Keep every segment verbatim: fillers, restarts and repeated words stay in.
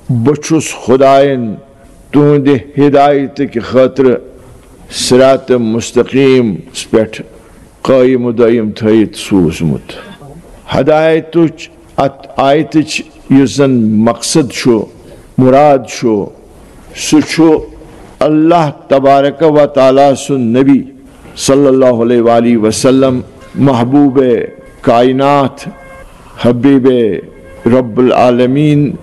بہٕ چھُس خۄدایَن تُہنٛدِ ہدایتٕکۍ خٲطرٕ صراط مستقیٖمَس پٮ۪ٹھ قٲیِم و دٲیِم تھٲیِتھ سوٗزمُت۔ ہدایتٕچ اَتھ آیتٕچ یُس زَن مقصد چھُ، مُراد چھُ، سُہ چھُ اللہ تبارک و تعالیٰ سُنٛد نبی صلی اللہ علیہ وآلہ وسلم، محبوب کائنات، حبیب رب العالمین،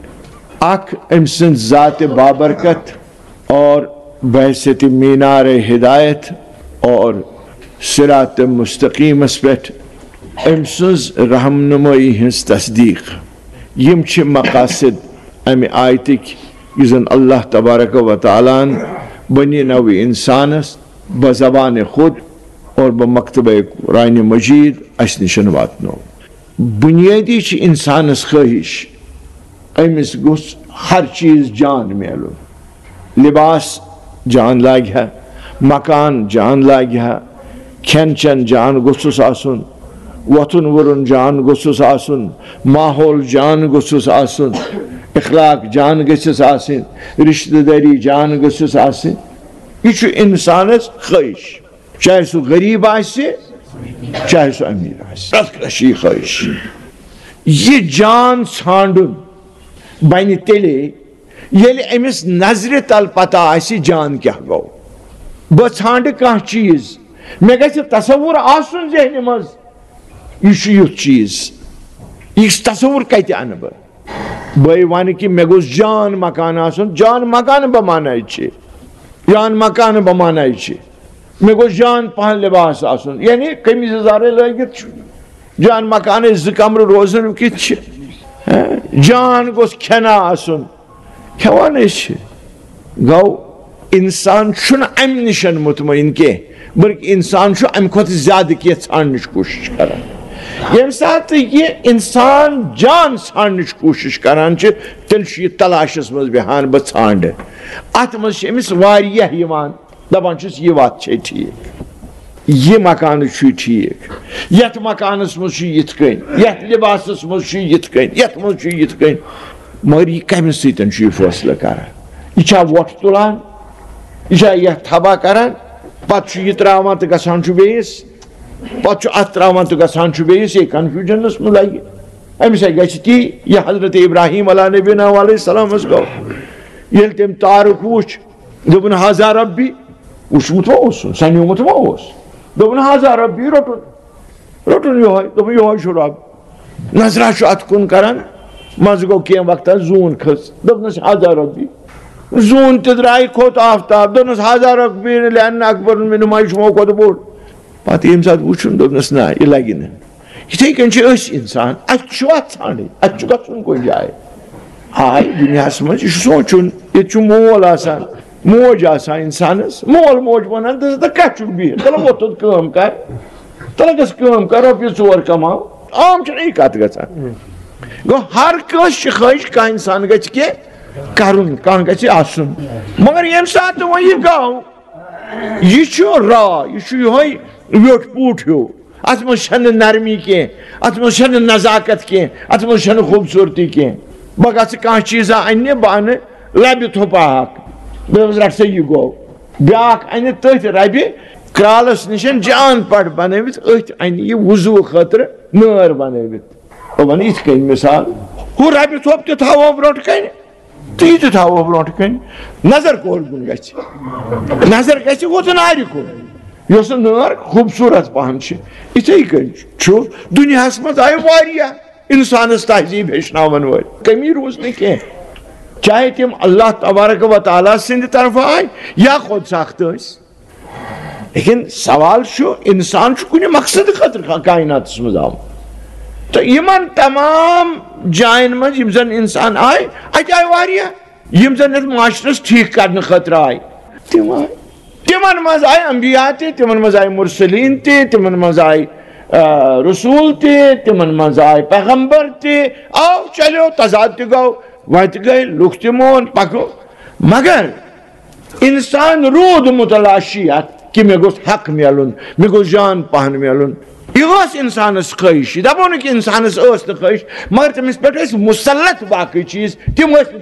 اکھ أمۍ سٕنٛز ذات بابرکت اور بحیثیت مینار ہدایت اور صراط مستقیمس پٮ۪ٹھ أمۍ سٕنٛز رہنمٲیی ہٕنٛز تصدیق۔ یِم چھِ مقاصد امہِ آیتٕکۍ، یُس زن اللہ تبارک و تعالیٰ ہن بنی نوع انسانس بزبان خود اور بمکتبہ قرآن مجید اسہِ نِشن واتنو۔ بنیٲدی چھِ انسانس خٲہِش، أمِس گوٚژھ ہر چیٖز جان میلُن۔ لباس جان لاگہِ ہا، مکان جان لاگہِ ہا، کھٮ۪ن چٮ۪ن جان گوٚژھُس آسُن، وۄتھُن وُرُن جان گوٚژھُس آسُن، ماحول جان گوٚژھُس آسُن، اخلاق جان گٔژھِس آسٕنۍ، رشتہٕ دٲری جان گٔژھِس آسٕنۍ۔ یہِ چھُ انسانس خٲہِش، چاہے سُہ غریب آسہِ، چاہے سُہ امیر آسہِ، پرٛٮ۪تھ کٲنٛسہِ چھِ یہِ خٲہِش۔ یہِ جان ژھانٛڈُن بنہِ تیٚلے، ییٚلہِ أمِس نظرِ تل پتہ آسہِ جان کیٛاہ گوٚو۔ بہٕ ژھانٛڈٕ کانٛہہ چیٖز، مےٚ گژھِ تصور آسُن ذہنہِ منٛز، یہِ چھُ یُتھ چیٖز، یہِ تصور کتہِ انہٕ بہٕ؟ بہٕ وَنہٕ کہِ مےٚ گوٚژھ جان مکان آسُن، جان مکان بہٕ ماناے چھِ، جان مکان بہٕ ماناے چھِ۔ مےٚ گوٚژھ جان پہن لباس آسُن، یعنی قمیٖض یزارے لٲگِتھ چھُ۔ جان مکانٕکۍ زٕ کمرٕ روزُن کِتھ چھِ؟ ہہ؟ جان گوٚژھ کھٮ۪نا آسُن۔ کھٮ۪وان أسۍ چھِ۔ گوٚو، انسان چھُنہٕ امہِ نِش مطمئن کینٛہہ، بلکہِ انسان چھُ امہِ کھۄتہٕ زیادٕ کینٛہہ ژھانڈنٕچ کوٗشِش کران۔ ییٚمہِ ساتہٕ یہِ انسان جان ژھانڈنٕچ کوٗشِش کران چھِ، تیٚلہِ چھُ یہِ تلاشس منٛز بیہان، بہٕ ژھانڈٕ۔ اتھ منٛز چھِ أمِس واریاہ یِوان۔ دپان چھُس، یہِ وَتھ چھے ٹھیٖک، یہِ مکانہٕ چھُے ٹھیٖک، یَتھ مکانَس منٛز چھُ یِتھ کٔنۍ، یَتھ لِباسَس منٛز چھُ یِتھ کٔنۍ، یَتھ منٛز چھُ یِتھ کٔنۍ۔ مگر یہِ کَمہِ سۭتۍ چھُ یہِ فٲصلہٕ کران؟ یہِ چھا وۄٹھ تُلان؟ یہِ چھا یَتھ تھبا کران؟ پَتہٕ چھُ یہِ ترٛاوان تہٕ گژھان چھُ بیٚیِس، پَتہٕ چھُ اَتھ ترٛاوان تہٕ گژھان چھُ بیٚیِس، یہِ confusionس منٛز لَگہِ۔ أمِس ہے گژھِ تی، یہِ حضرت ابراہیم علیہ نبینا علیہ السلامَس گوٚو۔ ییٚلہِ تٔمۍ تارُک وُچھ، دوٚپُن، "ہذا ربی"، وُچھمُت ما اوسُن، سَنیومُت ما اوس؟ دوٚپُن، "ہذا ربی"، روٚٹُن، روٚٹُن یِہوٚے، دوٚپُن، "یِہوٚے چھُ رب۔" نظرا چھُ اَتھ کُن کران، منٛزٕ گوٚو کینٛہہ وقتہ زوٗن کھٔژ، دوٚپنَس، "ہذا ربی"۔ زوٗن تہِ درٛاے، کھوٚت آفتاب، دوٚپنَس، "ہذا ربی لأن اکبر منہما"، یہِ چھُ یِمو کھۄتہٕ بوٚڑ۔ پتہٕ ییٚمہِ ساتہٕ وُچھُن، دوٚپنَس، "نہ، یہِ لگہِ نہٕ۔" یِتھَے کٔنۍ چھِ أسۍ اِنسان، اَسہِ چھُ اَتھ ژھانٛڈٕنۍ، اَسہِ چھُ گژھُن کُنہِ جایہِ۔ آے دُنیاہَس منٛز، یہِ چھُ سونٛچُن، ییٚتہِ چھُ مول آسان، موج آسان اِنسانَس، مول موج وَنان، "تہٕ ژٕ کَتہِ چھُکھ بِہِتھ؟ تَلہٕ وۄتھ تھوٚد کٲم کَر، تَلہٕ گژھ کٲم کَر، رۄپیہِ ژور کَماو۔" عام چھُنہٕ یہِ کَتھ گژھان۔ گوٚو، ہر کٲنٛسہِ چھِ خٲہِش، کانٛہہ اِنسان گژھِ کینٛہہ کَرُن، کانٛہہ گژھِ آسُن۔ مگر ییٚمہِ ساتہٕ وۄنۍ یہِ گوٚو، یہِ چھُ را، یہِ چھُ یِہوٚے ویوٚٹھ پوٗٹھ ہیوٗ۔ اَتھ منٛز چھَنہٕ نرمی کینٛہہ، اَتھ منٛز چھَنہٕ نزاکت کینٛہہ، اَتھ منٛز چھَنہٕ خوٗبصوٗرتی کینٛہہ۔ بہٕ گژھٕ کانٛہہ چیٖزا اَننہِ، بہٕ اَنہٕ لَبہِ تھوٚپا اَکھ، بہٕ دَپَس، "رَٹھ سا یہِ گوٚو۔" بیٛاکھ اَنہِ تٔتھۍ رَبہِ کرٛالَس نِش جان پَٹ بَنٲوِتھ، أتھۍ اَنہِ یہِ وضوٗ خٲطرٕ نٲر بَنٲوِتھ۔ بہٕ وَنہٕ یِتھ کٔنۍ مِثال، ہُہ رَبہِ تھوٚپ تہِ تھاوو برٛونٛٹھ کَنہِ، تہٕ یہِ تہِ تھاوو برٛونٛٹھ کَنہِ۔ نظر کوٚت کُن گژھِ؟ نظر گژھِ وۄژن آرِ کُن، یۄس نٲر خوٗبصوٗرت پہن چھِ۔ یِتھَے کٔنۍ چھُ دُنیاہَس منٛز آیہِ واریاہ اِنسانَس تہذیٖب ہیٚچھناوَن وٲلۍ، کٔمی روٗز نہٕ کینٛہہ، چاہے تِم اللہ تبارک و تعالیٰ سٕنٛدِ طرفہٕ آے یا خۄد ساختہٕ ٲسۍ۔ لیکن سوال چھُ، انسان چھُ کُنہِ مقصدٕ خٲطرٕ کا-، کائناتس منٛز آمُت۔ تہٕ یِمن تمام جاین منٛز یِم زن انسان آے، اتہِ آے واریاہ، یِم زن یتھ معاشرس ٹھیٖک کرنہٕ خٲطرٕ آے، تِم آے۔ تِمن منٛز آے انبیاء تہِ، تِمن منٛز آے مرسلین تہِ، تِمن منٛز آے، آ، رسول تہِ، تِمن منٛز آے پیغمبر تہِ۔ آو، چلیو، تضاد تہِ گوٚو، وتہِ گٔے، لُکھ تہِ مون، پکو۔ مگر انسان روٗد متلاشی اتھ کہِ مےٚ گوٚژھ حق میلُن، مےٚ گوٚژھ جان پہن میلُن۔ یہِ ٲس انسانس خٲہِش، یہِ دپو نہٕ کہِ انسانس ٲس نہٕ خٲہِش، مگر تٔمِس پٮ۪ٹھ ٲسۍ مسلط باقٕے چیٖز، تِم ٲسۍ